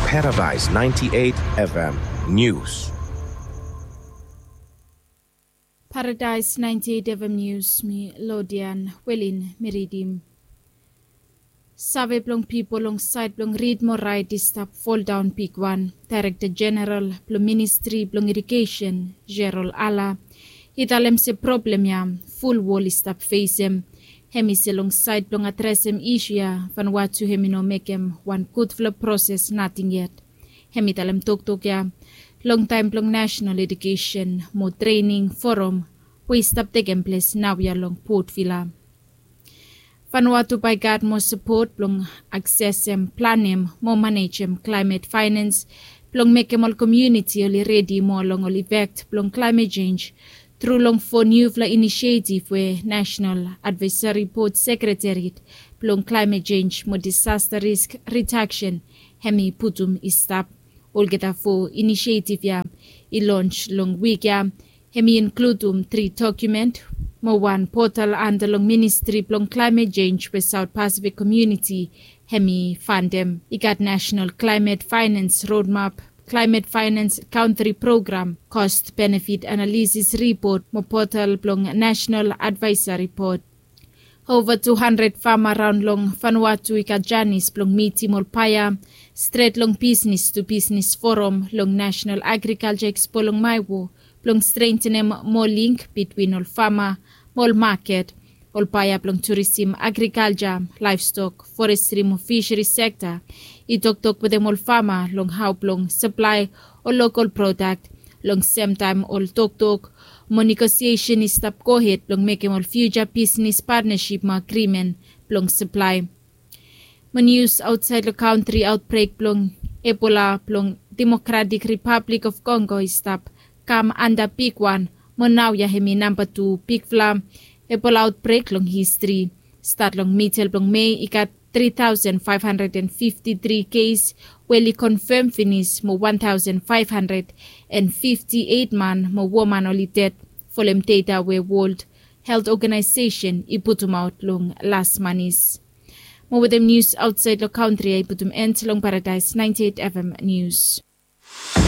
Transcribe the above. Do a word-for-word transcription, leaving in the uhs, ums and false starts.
Paradise ninety-eight F M News. Paradise ninety-eight F M News, mi Lodian Welin mi ridim. Save blong pipol long saed blong rid mo raet i stap foldaon bigwan. Daerekta Jeneral blong Ministri blong Ejukesen, Gerald Ala, i talem se problem ya ful wol i stap fesem. Hemi se long saed blong adresem isu ya, Vanuatu hemi no mekem wan gudfala proses nating yet. Hemi talem toktok ya longtaem blong National Education mo Training Forum we i stap tekem ples naoia long Port Vila. Vanuatu bae i gat moa sapot blong aksesem, planem mo manejem klaemet faenans blong mekem ol komuniti oli redi moa long ol ifek blong klaemet jenj, tru long fo niufala inisietif we National Advisory Board Sekretariat blong Klaemet Jenj mo Disasta Risk Ridaksen hemi putum i stap. Olgeta fo inisietif ya i lons long wik ya, hemi inkludum tri dokumen mo wan potal anda long Ministri blong Klaemet Jenj we Saot Pasifik komuniti hemi fandem. I gat National Climate Finance Roadmap, Climate Finance Country Program, Cost Benefit Analysis Report mo potal blong National Advisory Board. Ova tu handred fama raon long Vanuatu i gat janis blong mitim ol paea stret long Bisnis tu Bisnis Forum long National Agrikalja Ekspo long Maewo blong strentenem moa link bitwin ol fama mo ol maket. Ol paea blong turisim, agrikalja, laevstok, forestri mo fiseri sekta i toktok wetem ol fama long hao blong saplae ol lokol prodak. Long semtaem ol toktok mo negosiesen i stap gohed blong mekem ol fiuja bisnis patnasip mo agrimen blong saplae. Mo nius aotsaed long kantri, aotbrek blong Ebola blong Democratic Republic of Congo i stap kam anda bigwan mo naoia hemi namba tu bigfala Ebola aotbrek long histri. Stat long midel blong Mei i gat tri taosen faef handred and fifti tri kes we oli konfam finis mo wan taosen faef handred and fifti eit man mo woman oli ded, folem deta we World Health Organization i putumaot long las manis. Mo wetem nius aotsaed long kantri ya i putum end long Paradise ninety-eight F M News.